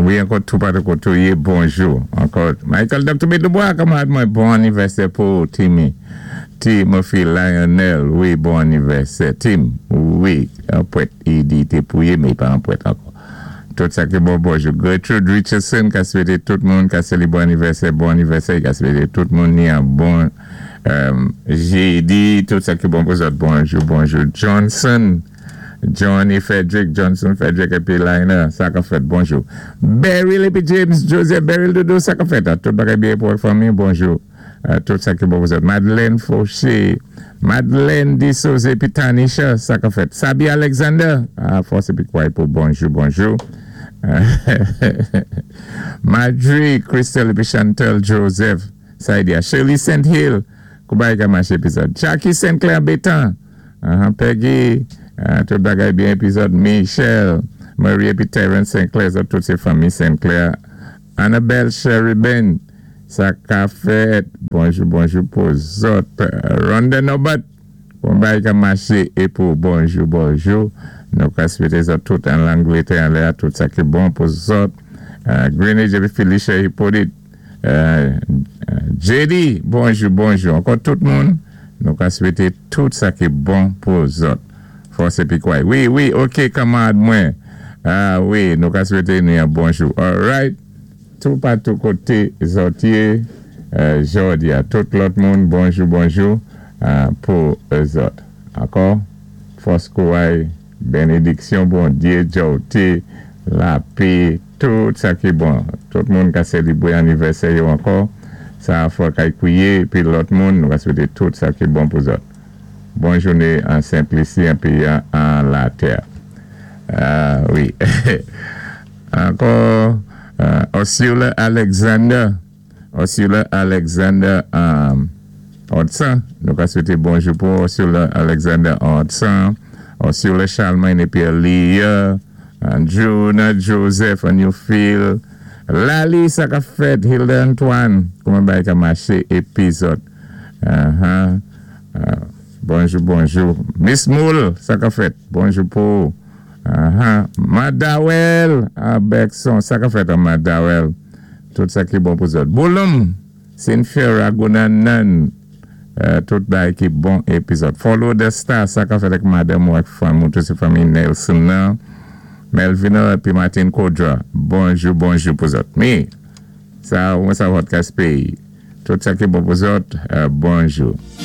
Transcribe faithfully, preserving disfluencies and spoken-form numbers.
Wi, ankò tou patou koté ou yé, bonjou. Ankò, Michael Doctor Dubois, kanmarad mwen, bon anivèsè pou Timmy. Timothy Lionel, wi, bon anivèsè. Tim, wi, an pwèt, i di té pou yé, mé i pa an pwèt ankò. Tout sa ki bon, bonjou. Gertrude Richardson, ka swété tout moun, ka sé bon anivèsè, bon anivèsè, ka swété tout moun ni an bon euh, jédi, tout sa ki bon pou zòt, bonjou, bonjou. Johnson, Johnny Frederick, Johnson Frederick épi Liner, sa ka fèt, bonjou. Beryl épi James Joseph, Beryl Dodo, sa ka fèt, tout bagay byen pou fanmi, bonjou. Euh, tout sa ki bon pou zòt. Madeleine Fauché, Madeleine Dissose épi Tanisha, sa ka fèt. Sabi Alexander, ah, fòs épi kouway pou bonjou, bonjou. Marjorie, Crystal épi Chantal Joseph, sa di Shirley Saint Hill, koubay ka maché épizòd. Jackie Saint Clair Bétan, uh-huh, Peggy, uh, tout bagay byen épizòd. Michel, Marie épi Terence Saint Clair, sa, tout sé fanmi Saint Clair. Annabelle Sheriben, sa ka fèt. Bonjou, bonjou pou zòt. Rhonda Nobat, bon bagay ka maché é pou bonjou, bonjou. Nou ka swété zòt tout an Langlétè, an lè, tout sa ki bon pou zòt. Uh, Greenwich épi Felicia Hippolyte. Uh, uh, J D, bonjou, bonjou. Ankò tout moun, nou ka swété tout sa ki bon pou zòt. Fòs épi kouway. Wi, wi, OK, kanmarad mwen. Ah wi, nou ka swété nou yon bonjou. All right. Tou patou koté zòt yé, euh, jòdi a tout lòt moun, bonjou, bonjou euh, pou zòt. Ankò, fòs kouway, bénédiksyon Bondyé, djòwté, lapè, tout sa ki bon. Tout moun ka sélébwé anivèsè yo ankò, sa fò kay kwiyé, pi lòt moun, nou ka swété tout sa ki bon pou zòt. Bon jouné an Sentlisi, épi an latè. Ah, wi. Ankò, euh, Ursula Alexander, Ursula Alexander um, Hudson, nou ka swété bonjou pou Ursula Alexander Hudson, Ursula Charlemagne épi Leah, Jonah Joseph, Newfield, Lali, sa ka fèt, Hilda Antoine, kouman bagay ka maché, épizòd. Uh-huh. Uh, bonjou, bonjou. Miss Moule, sa ka fèt, bonjou pou. Uh-huh. Madawel, Bergson, sa ka fèt an Madawel. Tout sa ki bon pou zòt. Boulum, Cynthia Ragunanan, uh, tout bagay ki bon épizòd. Follow the Star, sa ka fèt ak madanm ou ak fanmi, tout sé fanmi Nelson nan. Melvina épi Martin Kodra, bonjou, bonjou pou zòt. Mi, sa, mwen sa podcast péyi. Tout sa ki bon pou zòt, uh, bonjou.